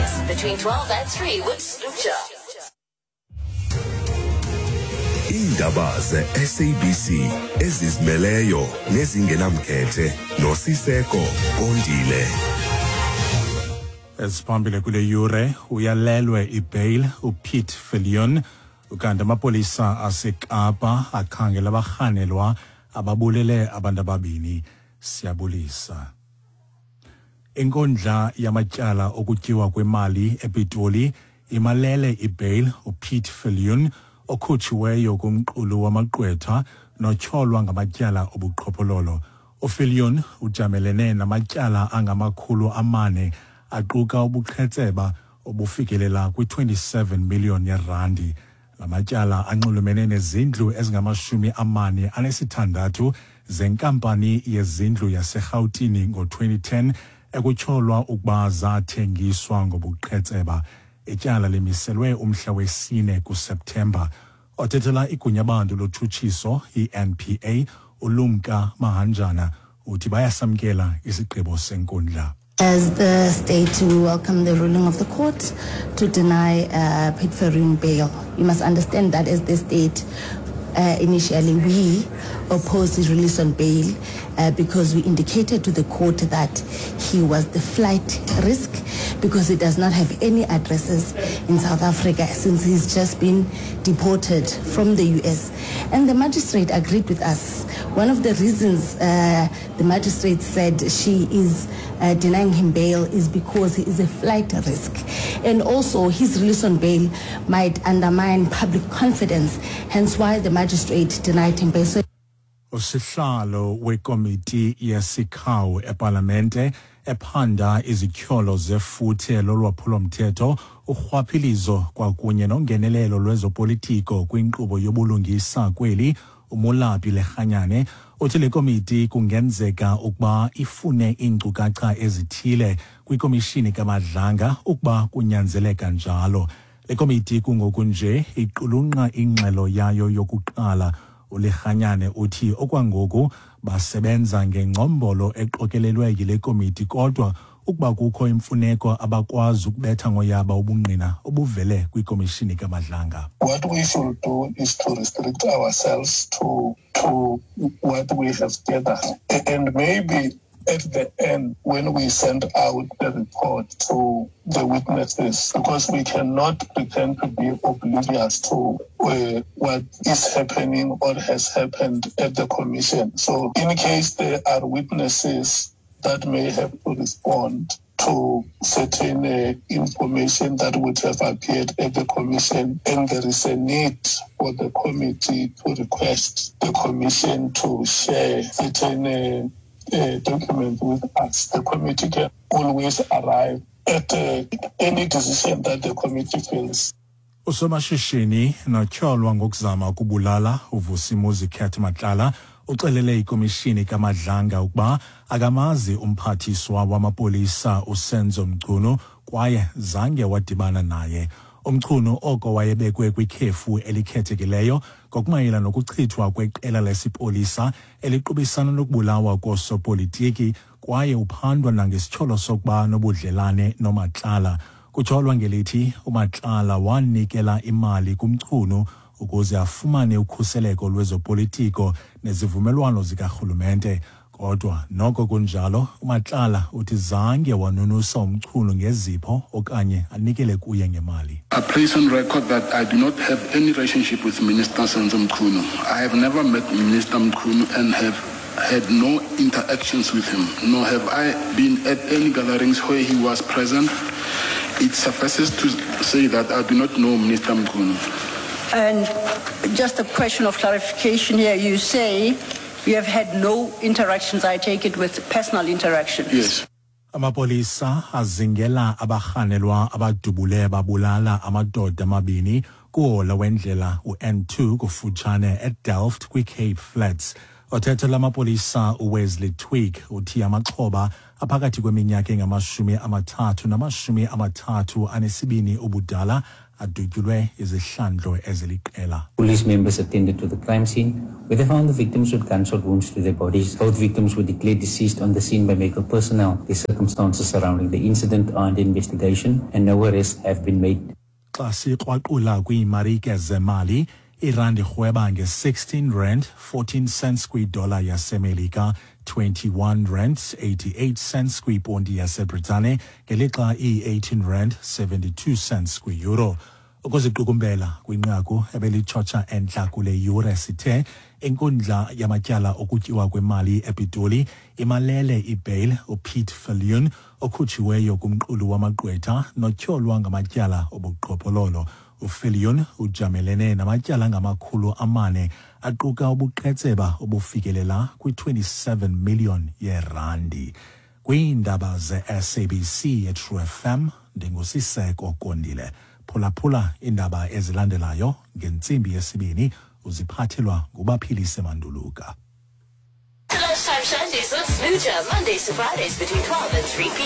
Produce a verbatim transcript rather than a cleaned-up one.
Express between twelve and three with Slucha. Iindaba ze-S A B C ezizimeleyo nezingenamkhethe noSiseko Kondile. Eziphambili kule yure: uyalelwe ibail uPiet Viljoen, ukanti amapolisa aseKapa akhangela abarhanelwa ababulele abantu ababini. Siyabulisa. Inkundla yamatyala okutyiwa kwemali ePitoli imalele ibail uPiet Viljoen, okhutshiweyo kumqulu wamagqwetha notyholwa ngamatyala obuqhophololo. UViljoen ujamelene namatyala angamakhulu amane aquka ubuqhetseba obufikelela kwi-twenty-seven million yerandi. La matyala anxulumene nezindlu ezingamashumi amane anesithandathu zenkampani yezindlu yaseRhawutini ngo-twenty ten ekutyholwa ukuba zathengiswa ngobuqhetseba. Ityala limiselwe umhla wesine kuSeptemba. Othethela igunyabantu lotshutshiso i-N P A, uLumka Mahanjana, uthi bayasamkela isigqibo senkundla. As the state, we welcome the ruling of the court to deny uh, Piet Viljoen bail. You must understand that as the state, uh, initially we opposed his release on bail uh, because we indicated to the court that he was the flight risk because he does not have any addresses in South Africa since he's just been deported from the U S. And the magistrate agreed with us. One of the reasons uh, the magistrate said she is uh, denying him bail is because he is a flight risk. And also his release on bail might undermine public confidence, hence why the magistrate denied him bail. So Usihlalo wekomiti yesikhawu epalamente ephanda izityholo zefuthe lolwaphulomthetho, urhwaphilizo kwakunye nongenelelo lwezopolitiko kwinkqubo yobulungisa kweli, uMolapi Lekganyane, uthi le komiti kungenzeka ukuba ifune iinkcukacha ezithile kwikomishini kaMadlanga ukuba kunyanzeleka njalo. Le komiti kungoku nje iqulunqa ingxelo yayo yokuqala. ULekganyane uthi okwangoku basebenza ngengcombolo eqokelelwe yile komiti, kodwa ukuba kukho imfuneko abakwazi ukubetha ngoyaba ubungqina obuvele kwikomishini kaMadlanga. What we should do is to restrict ourselves to to what we have gathered. And maybe at the end, when we send out the report to the witnesses, because we cannot pretend to be oblivious to uh, what is happening or has happened at the commission. So in case there are witnesses that may have to respond to certain uh, information that would have appeared at the commission, and there is a need for the committee to request the commission to share certain uh, uh, documents with us, the committee can always arrive at uh, any decision that the committee feels. Usomashishini notyholwa ngokuzama ukubulala uVusimuzi Cat Matlala uxelele ikomishini kaMadlanga ukuba akamazi umphathiswa wamapolisa uSenzo Mchunu kwaye zange wadibana naye. UMchunu oko wayebekwe kwikhefu elikhethekileyo ngokumayela nokuchithwa kweqela lesipolisa eliqubisana nokubulawa koosopolitiki, kwaye uphandwa nangesityholo sokuba nobudlelane noMatlala. Kutyholwa ngelithi uMatlala wanikela imali kuMchunu ukuze afumane ukhuseleko lwezopolitiko nezivumelwano zikarhulumente. Kodwa noko kunjalo, uMatlala uthi zange wanunusa uMchunu ngezipho okanye anikele kuye ngemali. I place on record that I do not have any relationship with Minister Senzo Mchunu. I have never met Minister Mchunu and have had no interactions with him, nor have I been at any gatherings where he was present. It suffices to say that I do not know Minister Mchunu. And just a question of clarification here. You say you have had no interactions, I take it, with personal interactions. Yes. Amapolisa azingela abarhanelwa abadubule babulala amadoda amabini kuhola wendlela u-N two kufutshane eDelft kwiCape Flats. Othetha lamapolisa uWesley Twigg uthi amaxhoba aphakathi kweminyaka engamashumi amathathu namashumi amathathu anesibini ubudala adutyulwe izihlandlo eziliqela. Police members attended to the crime scene, where they found the victims with gunshot wounds to their bodies. Both victims were declared deceased on the scene by medical personnel. The circumstances surrounding the incident are under investigation and no arrests have been made. Xa sikrwaqula kwiimarike zemali, irandi irhweba nge-sixteen rand fourteen cents kwidola yaseMelika, twenty-one rand eighty-eight cents kwiponti yaseBritane, ngelixa iyi-eighteen rand seventy-two cents kwi-euro. Ukuziqukumbela kwinqaku ebelitshotsha entla kule yure, sithe inkundla yamatyala okutyiwa kwemali ePitoli imalele ibail uPiet Viljoen, okhutshiweyo kumqulu wamagqwetha notyholwa ngamatyala obuqhophololo. UViljoen ujamelene namatyala angamakhulu amane aquka ubuqhetseba obufikelela kwi-twenty-seven million yeerandi. Kwiindaba ze-S A B C eTrue F M, ndinguSiseko Kondile. Phulaphula iindaba ezilandelayo ngentsimbi yesibini, uziphathelwa nguBaphilise Manduluka. The Lunchtime Shandies with Smooja, Mondays to Fridays between twelve and three p m.